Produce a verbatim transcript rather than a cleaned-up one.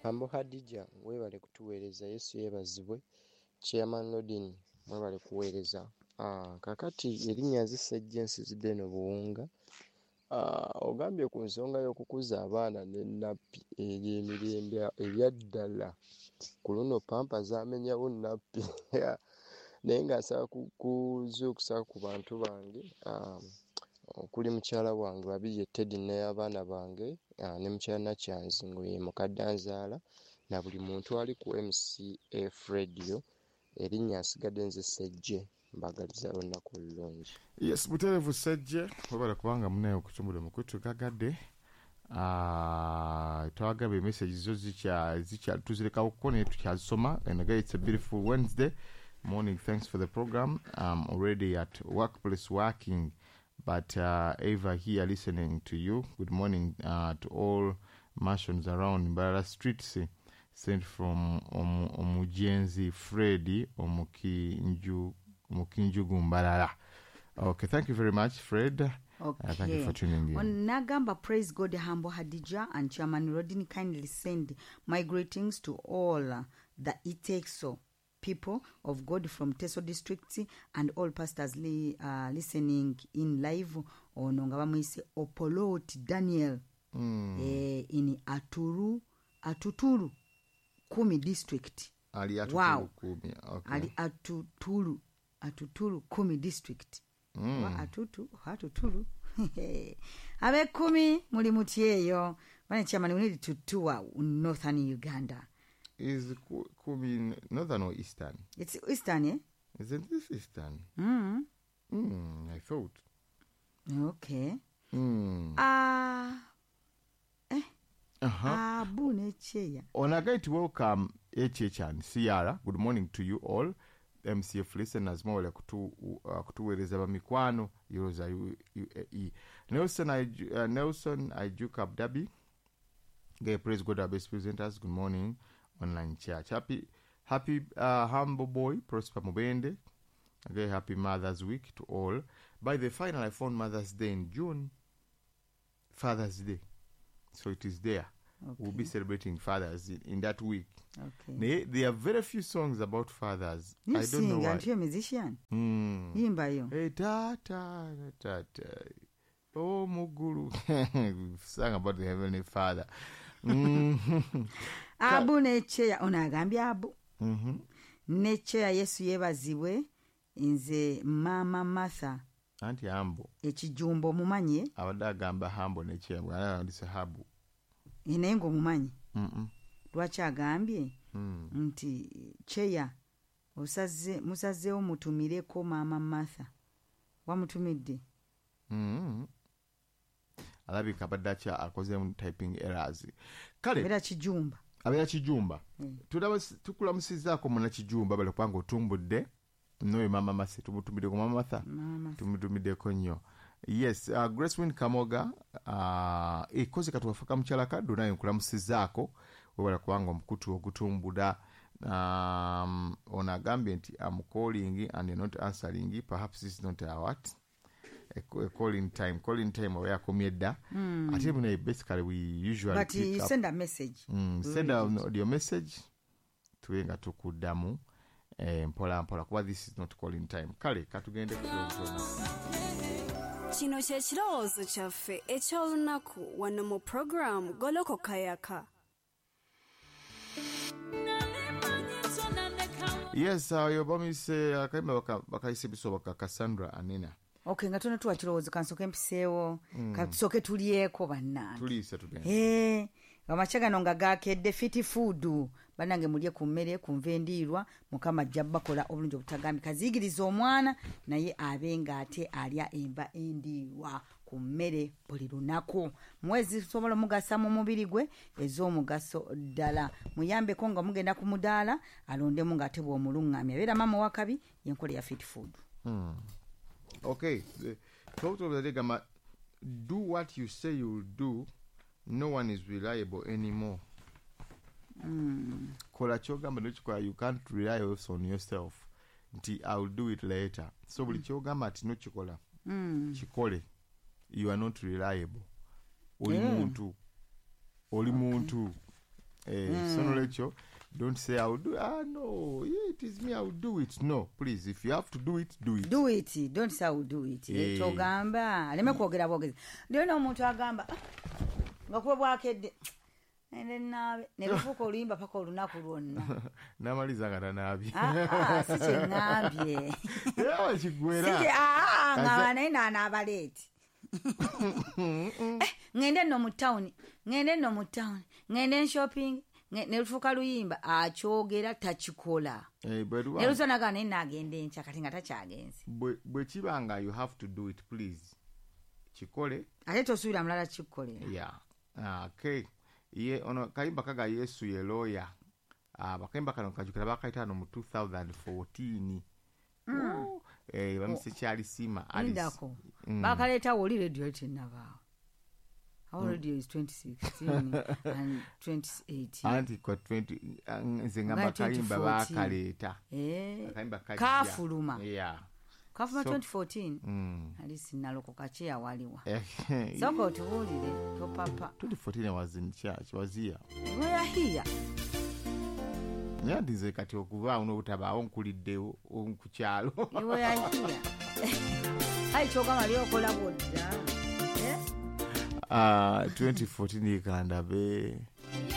Humble Hadija, webale kutuweereza. Yesu yeebazibwe. Chairman Lodin, mwebale kuweereza. Ah, kakati erinnya nze Ssejje, nsizidde eno Buwunga. Ah, ogambye ku nsonga y'okukuza abaana ne nappi ery'emirembe ebyaddala. Ku luno pampa zaamenyawo nappi. Naye nga nsaba kuzuukusa ku bantu bange, ah, okuli mukyala wange Babirye Teddy n'abaana bange, ah, ne mukyala Nakyanzi nga ye mukadde anzaala, na buli muntu ali ku M C F Radio. Erinnya nsigadde nze Ssejje, mbagaliza olunaku olulungi. Yes, butereevu Ssejje, webale kubanga munaye okutumbula mukutu gagadde. uh, twagaba emessage zo zikya zikya tuzirekawo naye tukyazisoma. And again, it's a beautiful Wednesday morning. Thanks for the program. I'm already at workplace working, but uh, Eva here listening to you. Good morning uh, to all mansions around Mbarara Streets, sent from Omujenzi Freddy Omukinju Omukinjugu Mbarara. Okay, thank you very much, Fred. Okay. Uh, thank you for tuning in. Nagamba, "Praise God, Humble Hadija and Chairman Rodin. Kindly send my greetings to all the Iteso people of God from Teso District and all pastors li, uh, listening in live." Ono nga bamuyise Opolot Daniel mm. eh, in Aturu Atuturu Kumi District. Ali Atuturu Wow. Kumi. Okay. Ali Atuturu Atuturu Kumi District. Mm. Oba Atutu Atuturu ab'ekkumi muli mutyeyo bane. Chairman, we need to tour northern Uganda. Is Ku- Kumi northern or eastern? It's eastern, eh? Isn't this eastern? mm. Mm, I thought. Okay. Mm. Ah, eh. Uh-huh. Abu nekyeya. On a guide to welcome H H and Ciara. Good morning to you all. M C F listeners, mwebale kutu, uh, kutuweereza bamikwano Yoza U A E. Nelson, I, uh, Nelson Ijuk Abdabi. Okay, praise God, our best presenters. Good morning, online church. Happy, happy uh, humble boy, Prosper Mubende. Okay, happy Mother's Week to all. By the final, I found Mother's Day in June. Father's Day. So it is there. Okay. We'll be celebrating fathers in, in that week. Okay. Naye, there are very few songs about fathers. You I don't know sing, why. Aren't you a musician? Mm. Yimbayo. Hey, ta ta ta ta. Oh, Muguru. Sang about the Heavenly Father. Mm. Abu nekyeya ono agambye abu mm-hmm. nekyeya Yesu yeebazibwe, nze Maama Martha. Anti Hambo. Ekijumbo omumanye? Abadde agamba Hambo nekyembwe alabandise habu. Eh, naye ng'omumanyi? Mm-mm. Lwaki agambye Mm. nti kyeya osaze musazeewo mutumireko Maama Martha, wamutumidde? Mm. Alabika abadde akya akozemu typing errors. Kale era Kijumba. Abeera Kijumba. Mm. Tulaba- tukulamusizaako muna Kijumba bale kubanga otumbudde noyo Mama Mase tumutumiddeko Mama Martha. Maama. Tumutumiddeko nnyo. Yes, uh, Grace Win Kamoga, uh, ekoze katuwafaka mukyala kaddu naye nkulamusizaako webala kubanga omukutu ogutumbula. um, ono agambye nti, "Am calling and not answering. Perhaps this is not a what a, a calling time." Calling time oba yakomye dda mm. Ate munaye basically we usually But pick you up. send a message. Mm, send an audio message tube nga tukuddamu eh, mpola mpola kuba this is not calling time. Kale katugende ku kirowoozo. Kino kye kirowoozo kyaffe eky'olunaku wano mu puroguramu Golokoka Yaka. Yes, oyo bamise akayimba baka- bakayise bisoboka, Cassandra Anina. Okay, nga tonatuwa kirowoozo, kansooke mpiseewo mm. Katusooke tulyeko bannange. Tuliise tugende. Eh, amakya gano nga gakedde Fit Food, bannange mulye ku mmere ku nva endiirwa. Mukama ajja bakola obulungi obutagambika. Kaziyigiriza omwana naye abe ng'ate alya enva endiirwa ku mmere buli lunaku, mwezi sobola omugasa mu mubiri gwe ez'omugaso ddala. Muyambeko nga mugenda ku mudaala alondemu ng'ate bw'omuluŋŋamya abeera maama wakabi yenkola ya Fit Food. Okay, the thought of the day gamba, do what you say you'll do. No one is reliable anymore. Kola kyogamba nokikola. You can't rely also on yourself nti I will do it later. So buli kyogamba ati nokikola, kikole. You are not reliable. Oli Yeah. muntu, oli muntu. Eh, so nolwekyo don't say I will do ah no yeah, it is me I will do it no please if you have to do it do it do it don't say I will do it Eh. kyogamba aleme kwogera bwogezi lero n'omuntu agamba "Ah, nga kuba bwakedde ende naabe ne lufuuka oluyimba paka olunaku lwonna namaliza nga tanaabye Ah, ah, si kyeŋŋambye era kigwera Si kye- ah, ah, Kaze- nga naye naanaaba late Eh, ŋŋende nno mu tawuni ŋŋende nno mu tawuni ŋŋende nshopping ne lufuuka luyimba akyogera takikola Eh, bwe luba- ne lusonaga naye naagenda enkya kati nga takyagenze bwe bwe kiba nga you have to do it please kikole ate tosuubira mulala kikukolera yeah okay ye ono kayimba kaga yesu ye lawyer ah bakayimba kano kajukira bakayita no mu twenty fourteen mm. eh bamise kyali sima Alice. lindako Mm. bakaleetawo oli radio yali tennabaawo awo radio is twenty sixteen and twenty eighteen. Anti kwa twenty ah, nze ngamba Nga kayimba twenty fourteen. bakaleeta Eh, akayimba kajja. Kafuluma. Yeah. Kafuluma So- twenty fourteen. mm. Ali sinalokoka kyeyawaliwa Eh, sooka otubuulire topapa. twenty fourteen I was in church, was here. Weyahiya. Naye nti nze kati okubaawo n'obutabaawo nkuliddewo ku kyalo. Iweyahiya ayi kyogamba lyokola bwodda. Eh? Ah, twenty fourteen kandabe.